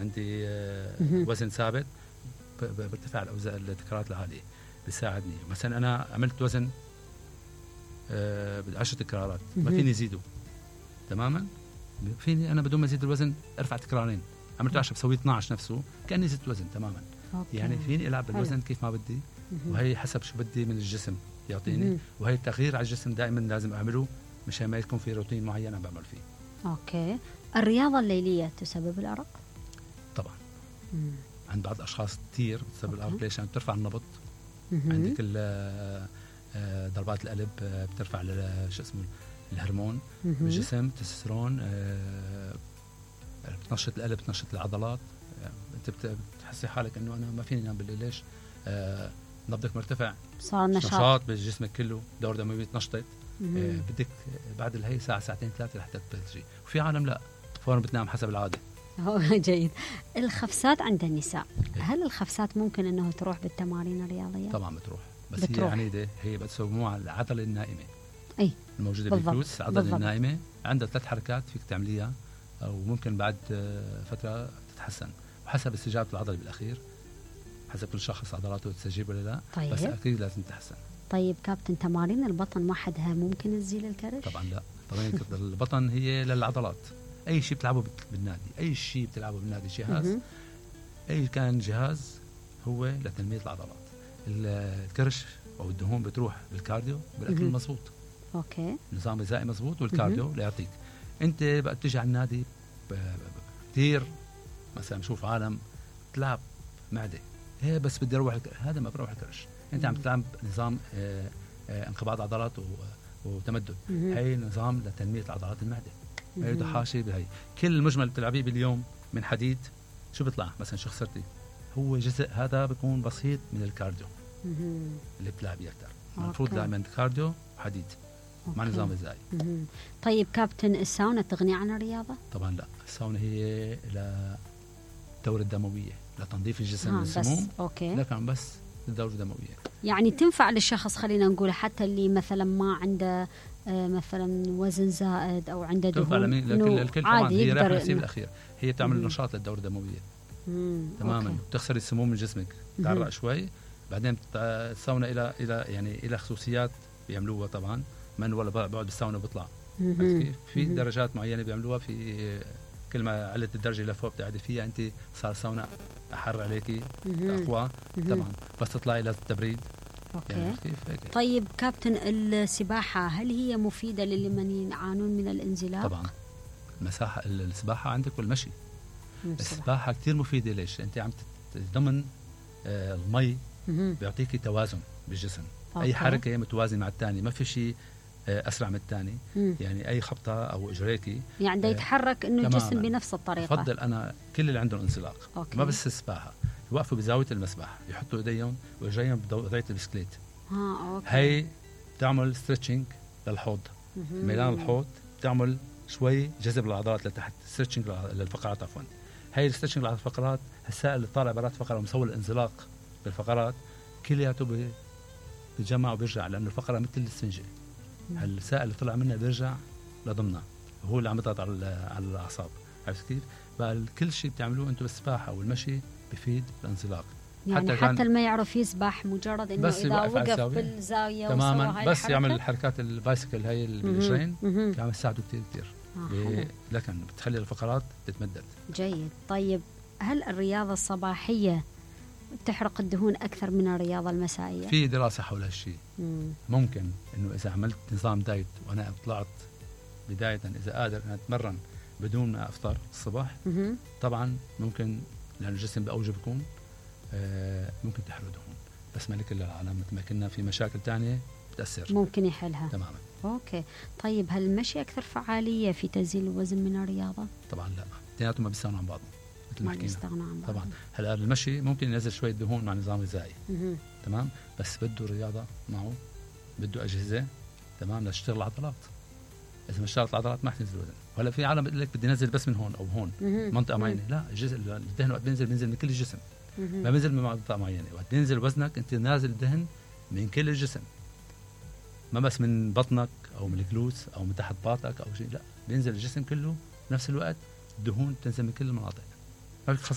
عندي وزن ثابت برتفع التكرارات العالية بيساعدني. مثلا أنا عملت وزن 10 تكرارات ما فيني زيده تماما، فيني أنا بدون ما أزيد الوزن أرفع تكرارين. عملت 10 بسوي 12 نفسه كأني زدت وزن تماما. يعني فيني ألعب بالوزن كيف ما بدي، وهي حسب شو بدي من الجسم يعطيني. وهي التغيير على الجسم دائما لازم أعمله مشان ما يكون في روتين معين أنا بعمل فيه. أوكي. الرياضة الليلية تسبب الأرق؟ طبعا. عند بعض الأشخاص كتير تسبب الأرق. ليش؟ يعني بترفع النبض، عندك ضربات القلب بترفع شو اسمه الهرمون بالجسم، تستوستيرون، بتنشط القلب، بتنشط العضلات. انت بتحسي حالك انه انا ما فيني انام بالليل. ليش؟ نبضك مرتفع، صار نشاط بجسمك كله، دور دموي تنشطت. بدك بعد الهي ساعة ساعتين ثلاثة لحتى تبلشي. وفي عالم لا فورا بتنام حسب العادة. جيد. الخفسات عند النساء، هل الخفسات ممكن انه تروح بالتمارين الرياضية؟ طبعا بتروح، بس بتروح. هي عنيدة، هي بتسموها العضلة النائمة. اي الموجودة بالفلوس، العضلة النائمة عندها 3 حركات فيك تعمليها، او ممكن بعد فترة تتحسن وحسب استجابة العضلة بالأخير، حسب كل شخص عضلاته تستجيب ولا لا. طيب. بس أكيد لازم تتحسن. طيب كابتن، تمارين البطن وحدها ممكن تزيل الكرش؟ طبعا لا. تمارين البطن هي للعضلات. أي شيء بتلعبه بالنادي، أي شيء بتلعبه بالنادي، جهاز أي كان جهاز هو لتنمية العضلات. الكرش أو الدهون بتروح بالكارديو بالأكل المضبوط. أوكي. نظام غذائي مضبوط والكارديو ليعطيك. أنت بقى بتيجي على النادي كثير، مثلا بشوف عالم تلعب معدة، هي بس بدي أروح هذا ما بروح الكرش. أنت عم تلعب نظام انقباض عضلات وتمدد. هي نظام لتنمية عضلات المعدة. هي تحاشي بهي. كل المجمل بتلعبيه باليوم من حديد شو بيطلع؟ مثلا شو خسرتي؟ هو جزء هذا بيكون بسيط من الكارديو اللي بتلعبيه أكثر. المفروض دائما كارديو وحديد مع نظام غذائي. طيب كابتن، الساونا تغني عن الرياضة؟ طبعا لا. الساونا هي للدورة الدموية، لتنظيف الجسم من السموم، لكن بس الدورة الدموية. يعني تنفع للشخص، خلينا نقول حتى اللي مثلا ما عنده مثلا وزن زائد او عنده دهون، الكل طبعا. هي رايحة نسيب الأخير، هي تعمل نشاط للدورة الدموية تماما. تخسر السموم من جسمك، تعرق شوي. بعدين الساونا إلى يعني إلى خصوصيات بيعملوها طبعا. من ولا بقعد بالساونا بيطلع كيف في درجات معينة بيعملوها. في كل ما علت الدرجة لفوق بتقعدي فيها أنت صار ساونا أحر عليكي أقوى طبعا. بس تطلعي للتبريد. أوكي. يعني كيف هيك. طيب كابتن، السباحة هل هي مفيدة لمن يعانون من الانزلاق؟ طبعا. السباحة عندك والمشي. السباحة كتير مفيدة. ليش؟ أنت عم ضمن المي بيعطيكي توازن بالجسم. أي حركة متوازنة مع الثاني، ما في شيء أسرع من الثاني. يعني أي خبطة أو إجريكي يعني ده يتحرك إنه الجسم بنفس الطريقة. أفضل أنا كل اللي عندهم انزلاق ما بس السباحة يوقفوا بزاوية المسبح، يحطوا إيديهم وإجريهم بوضعية البسكليت. هاي بتعمل ستريتشنج للحوض، ميلان الحوض، بتعمل شوي جذب العضلات لتحت، ستريتشنج للفقرات عفوا. هاي الستريتشنج للفقرات، السائل اللي طالع برات الفقرة ومسوي الانزلاق بالفقرات كلياته بيتجمع وبيرجع، لأنه الفقرة مثل السنجة. السائل اللي طلع منها بيرجع لضمنها، وهو اللي عم يضغط على الأعصاب. عرفت كيف؟ بقى كل شيء بتعملوه أنتم بالسباحة والمشي بفيد الانزلاق. يعني حتى اللي ما يعرف يسبح، مجرد انه اذا وقف بالزاويه تماما بس يعمل الحركات البايسكل هاي اللي بالرجلين كمان يساعده كثير لكن بتخلي الفقرات تتمدد. جيد. طيب هل الرياضه الصباحيه تحرق الدهون اكثر من الرياضه المسائيه؟ في دراسه حول هالشيء. ممكن انه اذا عملت نظام دايت وانا طلعت بدايه اذا قادر ان اتمرن بدون ما افطر الصبح، طبعا ممكن لأن الجسم بأوجه بيكون ممكن تحرق دهون، بس ما لكل العالم مثل ما كنا في مشاكل تانية بتأثر ممكن يحلها تماما. أوكي. طيب هل المشي أكثر فعالية في تنزيل الوزن من الرياضة؟ طبعا لا، اثنيناتهم ما بيستغنوا عن بعض مثل ما حكينا. عن بعض. طبعا هلا المشي ممكن ينزل شوية دهون مع نظام غذائي تمام، بس بده رياضة معه، بده أجهزة تمام لتشتغل العضلات. إذا ما اشتغلت العضلات ما حتنزل وزن. ولا في عالم بيقول لك بدي نزل بس من هون أو هون منطقة معينة، لا، الدهن وقت بينزل من كل الجسم، ما بينزل من منطقة معينة. وقت بينزل وزنك أنت نازل دهن من كل الجسم، ما بس من بطنك أو من الجلوس أو من تحت باطك أو شيء، لا، بينزل الجسم كله بنفس الوقت. الدهون تنزل من كل المناطق. هيك